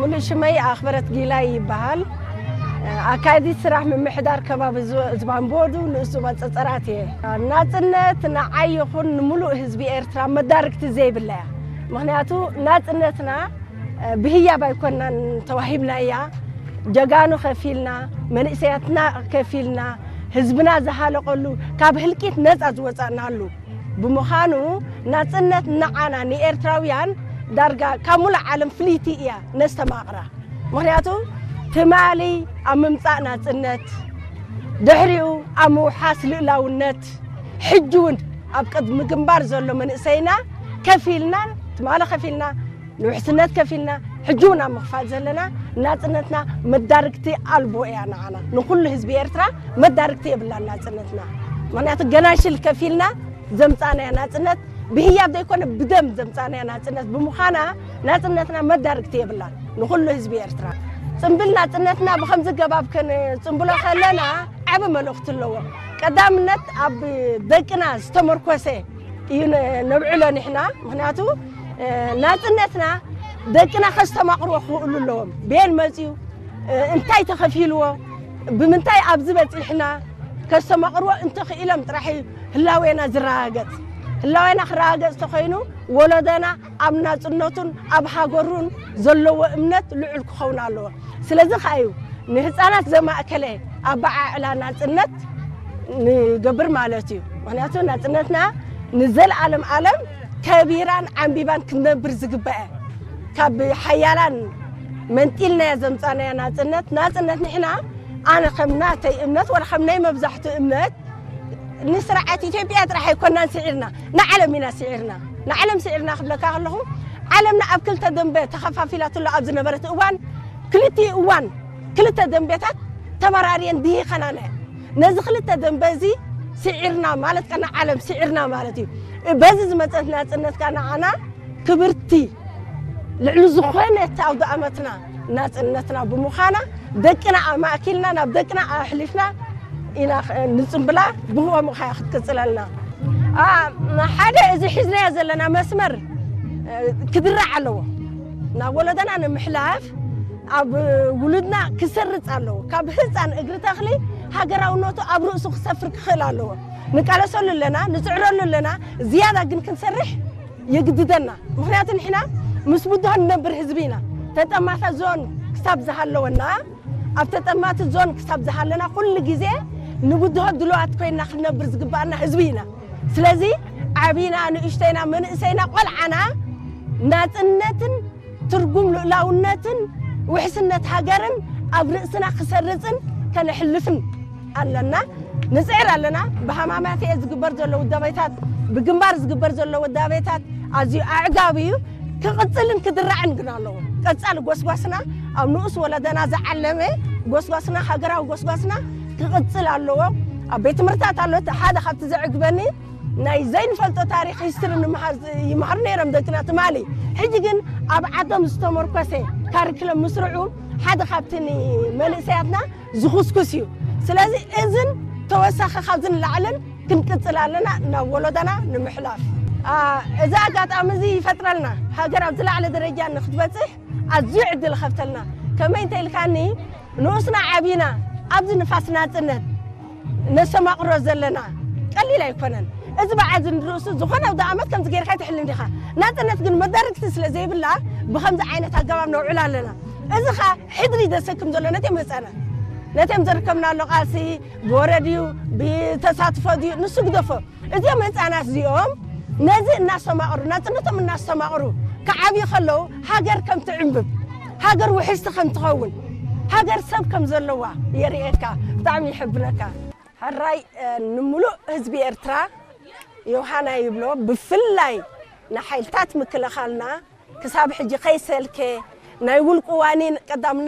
ሙሉእ ሽመይ ኣኽበረት ጊላይ ይበሃል። ኣካያዲት ስራሕ ምምሕዳር ከባቢ ዝ-፣ ዝባንቦዱ ንኡስ ዞባ ጸጸራት እየ። ናጽነት ንዓይ ይኹን ንምሉእ ህዝቢ ኤርትራ መዳርግቲ ዘይብላ እያ። ምኽንያቱ ናጽነትና ብህያብ ኣይኮናን ተዋሂብናያ። ጀጋኑ ከፊልና፣ መንእሰያትና ከፊልና፣ ህዝብና ዝሃለቐሉ፣ ካብ ህልቂት ነጻ ዝወጻእናሉ ብምዃኑ፣ ናጽነት ንዓና ንኤርትራውያን ዳርጋ ካብ ሙሉእ ዓለም ፍልይቲ እያ ነስተማቕራ። ምኽንያቱ ትማሊ ኣብ ምምጻእ ናጽነት፣ ድሕሪኡ ኣብ ምውሓስ ልኡላውነት፣ ሕጂ እውን ኣብ ቅድሚ ግንባር ዘሎ መንእሰይና ከፊልና፣ ትማሊ ከፊልና፣ ንውሕስነት ከፊልና፣ ሕጂ እውን ኣብ ምኽፋል ዘለና፣ ናጽነትና መዳርግቲ ኣልቦ እያ ንዓና። ንኹሉ ህዝቢ ኤርትራ መዳርግቲ የብላን ናጽነትና። ምኽንያቱ ገናሽል ከፊልና ዘምጻናያ ናጽነት፣ ብህያብ ዘይኮነ ብደም ዘምጻናያ ናጽነት ብምዃና፣ ናጽነትና መዳርግቲ የብላን። ንኹሉ ህዝቢ ኤርትራ ጽምብል ናጽነትና ብኸምዚ ገባብ ከነጽምብሎ ከለና ዓቢ መልእኽቲ ኣለዎ። ቀዳምነት ኣብ ደቅና ዝተመርኮሰ እዩ ነ-፣ ነብዕሎ ንሕና። ምኽንያቱ፣ እ፣ ናጽነትና ደቅና ከስተማቕርዎ ክኽእሉ ኣለዎም። ቤን መጽዩ፣ እ፣ እንታይ ተኸፊልዎ፣ ብምንታይ ኣብዚ በጺሕና፣ ከስተማቕርዎ እንተኽኢሎም ጥራሕ እዩ ህላዌና ዝረጋገጽ። ህላዌና ክረጋገጽ ተኾይኑ፣ ወለዶና ኣብ ናጽነቱን ኣብ ሃገሩን ዘለዎ እምነት ልዑል ክኸውን ኣለዎ። ስለዚ ከኣ እዩ ንህጻናት ዘማእከለ ኣበዓዕላ ናጽነት ንገብር ማለት እዩ። ምኽንያቱ ናጽነትና ንዘለኣለም ዓለም ከቢራን ዓንቢባን ክትነብር ዝግበአ፣ ካብ ሓያላን መንጢልናያ ዘምጻናያ ናጽነት፣ ናጽነት ንሕና፣ ኣነ ከም ናተይ እምነት ወላ ከም ናይ መብዛሕትኡ እምነት፣ ንስርዓት ኢትዮጵያ ጥራሕ ኣይኮናን ስዒርና፣ ንዓለም ኢና ስዒርና። ንዓለም ስዒርና ክብለካ ከለኹ፣ ዓለምና ኣብ ክልተ ደንበ ተኸፋፊላትሉ ኣብ ዝነበረት እዋን፣ ክልቲኡ እዋን ክልተ ደንበታት ተበራርየን ድሂኸናና እየን። ነዚ ክልተ ደንበ እዚ ስዒርና ማለት ከኣ ንዓለም ስዒርና ማለት እዩ። በዚ ዝመጸት ናጽነት ከኣ ንዓና ክብርቲ፣ ልዕሊ ዝኾነት ኣውደ ኣመትና ናጽነትና ብምዃና፣ ደቅና ኣማእኪልና፣ ናብ ደቅና ኣሕሊፍና ኢና ኸ-፣ ንጽምብላ። ብኸምኡ ኸኣ ክትቅጽለልና። ኣ፣ ሓደ እዚ ሒዝናዮ ዘለና መስመር፣ እ፣ ክድራዕ ኣለዎ። ናብ ወለዶና ንምሕላፍ፣ ኣብ ውሉድና ክሰርጽ ኣለዎ። ካብ ህጻን እግሪ ተኽሊ ሃገራውነቱ ኣብ ርእሱ ክሰፍር ክኽእል ኣለዎ። ንቃለሰሉ ኣለና፣ ንጽዕረሉ ኣለና፣ ዝያዳ ግን ክንሰርሕ የግድደና። ምኽንያቱ ንሕና ምስ ብድሆ ንነብር ህዝቢ ኢና። ተጠማቲ ዞን ክሳብ ዝሃለወና፣ ኣብ ተጠማቲ ዞን ክሳብ ዝሃለና፣ ኩሉ ግዜ ንብድሆ ድሉዋት ኮይና ክንነብር ዝግባኣና ህዝቢ ኢና። ስለዚ ዓቢና፣ ንእሽተይና፣ መንእሰይና፣ ቆልዓና ናጽነትን ትርጉም ልኡላውነትን ውሕስነት ሃገርን ኣብ ርእስና ክሰርጽን ከነሕልፍን ኣለና። ንጽዕር ኣለና። ብሃማማተኤ ዝግበር ዘሎ ውዳቤታት፣ ብግንባር ዝግበር ዘሎ ውዳቤታት ኣዝዩ ኣዕጋቢ እዩ። ክቕጽልን ክድራዕን ግን ኣለዎ። ቀጻሊ ጎስጓስና፣ ኣብ ንኡስ ወለደና ዝዓለመ ጎስጓስና፣ ሃገራዊ ጎስጓስና ክቕጽል ኣለዎ። ኣብ ቤት ትምህርትታት ኣሎ። እቲ ሓደ ካብቲ ዘዕግበኒ፣ ናይ ዘይንፈልጦ ታሪኽ ሂስትሪ ንምሃር፣ ይምሃሩ ነይሮም ደቅና ትማሊ። ሕጂ ግን ኣብ ዓዶም ዝተመርኮሰ ካሪክለም ምስርዑ ሓደ ካብቲ ንመንእሰያትና ዝኹስኩስ እዩ። ስለዚ እዝን ተወሳኺ ካብዚ ንላዕልን ክንቅጽል ኣለና ናብ ወለዶና ንምሕላፍ። ኣ፣ እዚ ኣጋጣሚ እዚ ይፈጥረልና፣ ሃገር ኣብ ዝለዓለ ደረጃ ንክትበጽሕ ኣዝዩ ዕድል ይኸፍተልና። ከመይ እንተ ኢልካኒ፣ ንኡስና ዓቢና ኣብዚ ንፋስ ናጽነት ነስተማቕሮ ዘለና ቀሊል ኣይኮነን። እዚ በዓል እዚ ንርእሱ ዝኾነ ኣውደ ኣመት ከምዚ ጌርካ ኣይትሕልን ዲኻ። ናጽነት ግን መዳርግቲ ስለ ዘይብላ ብኸምዚ ዓይነት ኣገባብ ነውዕላ ኣለና። እዚ ኸኣ ሕድሪ ዘሰክም ዘሎ ነቶም ህጻናት፣ ነቶም ዘርከብናሉ ቃልሲ ብወረ ድዩ ብተሳትፎ ድዩ ንሱ ግደፎ። እዚኦም ህጻናት እዚኦም ነዚ እናስተማቕሩ፣ ናጽነቶም እናስተማቕሩ ክዓብዩ ከለዉ፣ ሃገር ከም ትዕንብብ፣ ሃገር ውሕስቲ ከም ትኸውን፣ ሃገር ሰብ ከም ዘለዋ የርእየካ። ብጣዕሚ ይሕብነካ። ሕራይ፣ እ፣ ንምሉእ ህዝቢ ኤርትራ ዮሃና ይብሎ፣ ብፍላይ ንሓይልታት ምክልኻልና ክሳብ ሕጂ ከይሰልከ ናይ ውልቁ ዋኒን ቀዳምነት